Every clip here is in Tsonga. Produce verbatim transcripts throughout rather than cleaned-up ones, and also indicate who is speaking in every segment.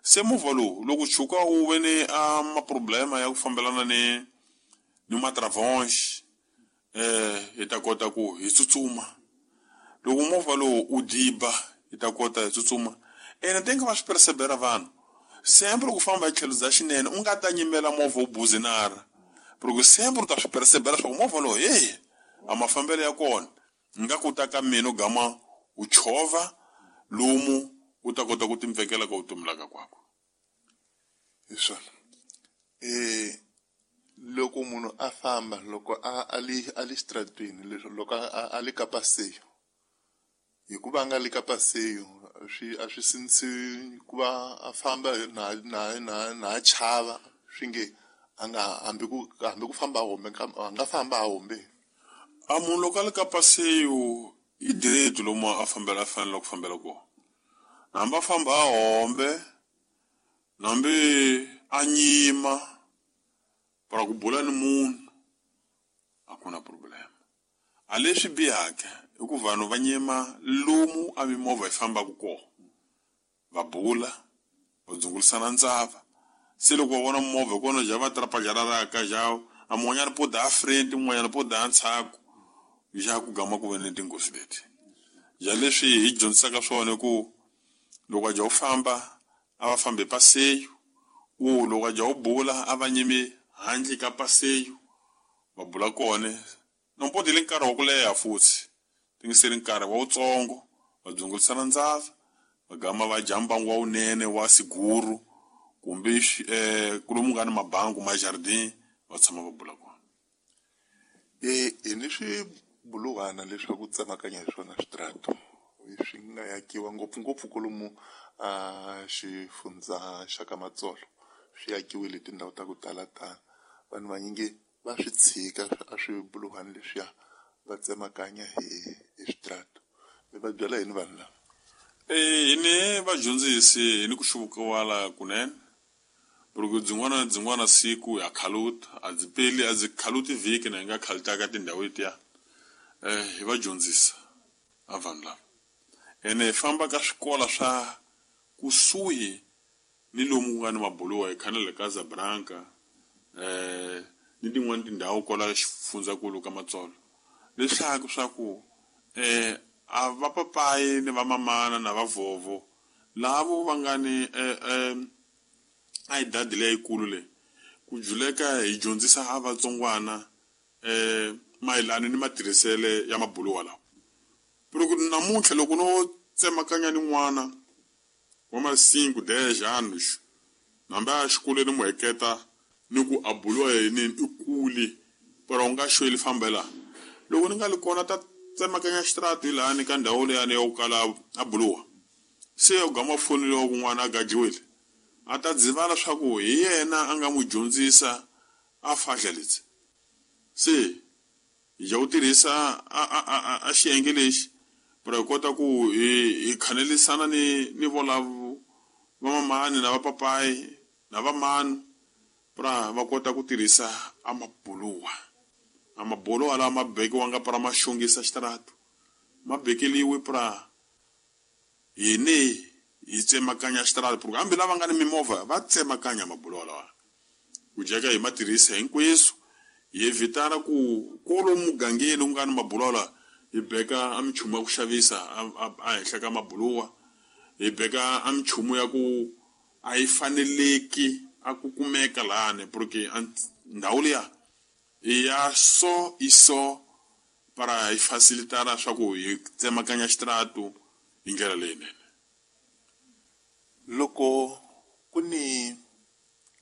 Speaker 1: Se movha lowu loko tshuka wu ve ni a maproblema ya ku fambelana ni ni matravonge eh hi ta kota ku hi tsutsuma. Loko movha lowu u diba hi ta kota hi tsutsuma. Ene tenga va swi persevera vanhu sempre ku famba hi tlhelo bya xinene u nga ta nyimela movha wu buzinara, loko sempre u ta swi persevera swa ku movha lowu hey a mafambelo ya kona nga ku ta ka mina u gama u chovha lomu u ta kota ku timpfekela ka vutomi la ka kwako.
Speaker 2: Hi swona. Eh loko munhu a famba loko a a li a li xitaratini leswi loko a a li ka paseyo, hikuva a nga li ka paseyo swi a swi sindzisi ku va a famba na na na na chava swi nge a nga hambi ku hambi ku famba a hombe a nga famba a hombe.
Speaker 1: A munhu loko a li ka paseyo i direct lomu a fambela a fanele ku fambela kona, hambi a famba a hombe hambi a nyima para ku bula ni munhu a ku na problem. A leswi bihaka i ku vanhu va nyima lomu a mimovha yi fambaka kona, va bula va dzungulisana ndzava. Se loko va vona movha hi kona ja va trapajararaka ja a mun'wanyana po da front mun'wanyana po da ndzhaku, ja ku gama ku ve ni tinghozi leti. Ja leswi hi dyondzisaka swona ku loko a ja u famba a va fambi paseyo, u loko a ja u bula a va nyimi handle ka paseyo va bula kona. Nompo deli nkarhi wa ku leha futhi tingiseli nkarhi wa wutsongo va dzungulisana ndzava va gama va dya mbangu wa wunene wa siguru kumbe eh kulomu nga ni mabangu ma jardin va tshama va bula kona.
Speaker 2: Eh hi ni swibuluhwana leswaku tsemakanya hi swona switrato swi nga yakiwa ngopfungopfu kolomu a xifundza xa ka Matsolo, swi yakiwile tindhawu ta ku tala tala. Vanhu vanyingi va swi tshika a swibuluhwana leswiya va tsemakanya hi hi switrato. Mi va byela yini vanhu lava?
Speaker 1: Eh hi ni vadyondzisi hi ni ku xuvukiwala kunene, loko byin'wana na byin'wana siku ya khaluta a byi peli a byi khaluti vhiki na hi nga khalutaka tindhawu letiya. Eh hi va dyondzisa a vanhu lava, ene hi famba ka swikolo swa kusuhi ni lomu ku nga ni mabuluwa hi khana le Casablanca eh ni tin'wani tindhawu kwala xifundzankulu ka Matsolo, leswaku swa ku eh a va papayi ni va mamana na va vhovho lavo va nga ni eh eh a hi dadi leyikulu leyi ku juleka hi dyondzisa a vatsongwana eh mayelana ni matirhisele ya mabuluwa lawa. Loko namuntlha loko no tsemakanya ni n'wana wa ma cinco dez anos hambi a xikolweni mu heketa ni ku a buluwa yini i kule pero u nga xweli fambela, loko ni nga li kona ta tsemakanya xitrati hi lani ka ndhawu leyani ya ku kala a buluwa, se u gama foneliwa ku n'wana a gajiwile a ta dzivala swa ku hi yena a nga n'wi dyondzisa a fahla leti. Se hi ja ku tirhisa a a a a xiyenge lexi para hi kota ku hi hi khanelisana ni ni volavo va mamani na va papayi na va manu para va kota ku tirhisa a mabuluwa. A mabuluwa lawa ma bekiwanga para ma xongisa xitaratu ma bekeliwe para hini hi tsemakanya xitaratu, hambi lava nga ni mimovha va tsemakanya mabuluwa lawa ku jeka hi ma tirhisa hinkweswo. Hi evitana ku kwalomu mugangeni ku nga ni mabuluwa lawa hi beka a minchumu ya ku xavisa a henhla ka mabuluwa, hi beka a minchumu ya ku a yi faneleki a ku kumeka lani, porque ndhawu liya i ya so i so para hi facilitana swa ku hi tsemakanya xitaratu hi ndlela leyinene.
Speaker 2: Loko ku ni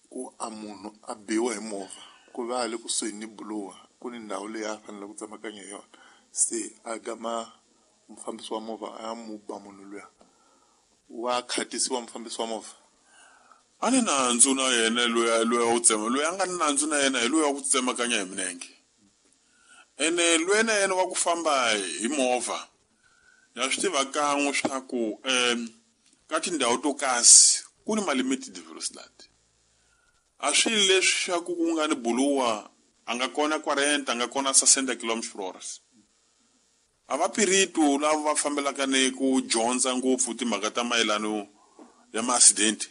Speaker 2: ku a munhu a biwa hi movha ku va a le kusuhi ni buluwa ku ni ndhawu leyi a fanele ku tsemakanya hi yona, se a gama mufambisi wa movha a ya mu ba munhu luya, wa khatisiwa mufambisi wa movha?
Speaker 1: A ni nandzu na yena loyi loyi wa ku tsema, loyi a nga ni nandzu na yena hi loyi wa ku tsemakanya hi milenge. Ene loyi na yena wa ku famba hi movha ya swi tiva kan'we swa ku ka tindhawu to kasi ku ni ma-limited velocity. A swi leswi swa ku ku nga ni buluwa a nga kona quarenta a nga kona sessenta kilometers per hour. A va piritu lava va fambelaka ni ku dyondza ngopfu timhaka ta mayelano ya ma-accident